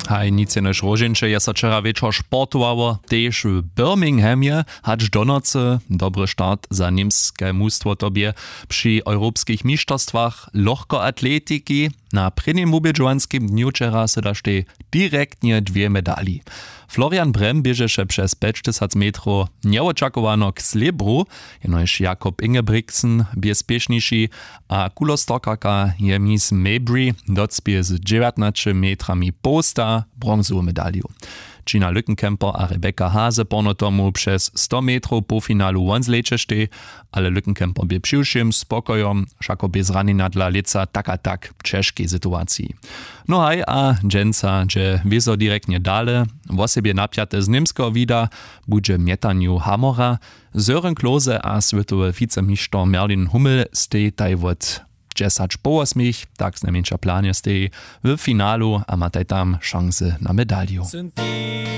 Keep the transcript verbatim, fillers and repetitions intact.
Haj nic jenož róžeńće je so wčera wječor sportowało tež w birminghamje, hač do nocy dobry start za němske mustwo to bě při europskich mišterstwach lochkoatletiki. Na prěnim wubědźowanskim dnju wčera sy daštej direktnje dwě medali. Florian brem běžeše přez pjećtysac metrow njewočakowano k slěbru, jenož jakob ingebrigtsen bě spěšniši, a kulostorkarka jemis mabry docpěje z dźewjatnaće metrami połsta bronzowu medalju. Gina lückenkemper a rebecca hase porno tomu přez sto metrow połfinalu won zlećeštej, ale lückenkemper bě přiwšěm spokojom wšako bě zranjenja dla lětsa tak a tak w ćežkej situaciji. No haj a dźensa dźe wězo direktnje dale, wosebje napjate z němskeho wida budźe mjetanju hamora. Sören klose a swětowy wicemišter merlin hummel stej taj wot dźesać po wosmich tak znajmjeńša planje stej w finalu a mataj tam šansy na medalju.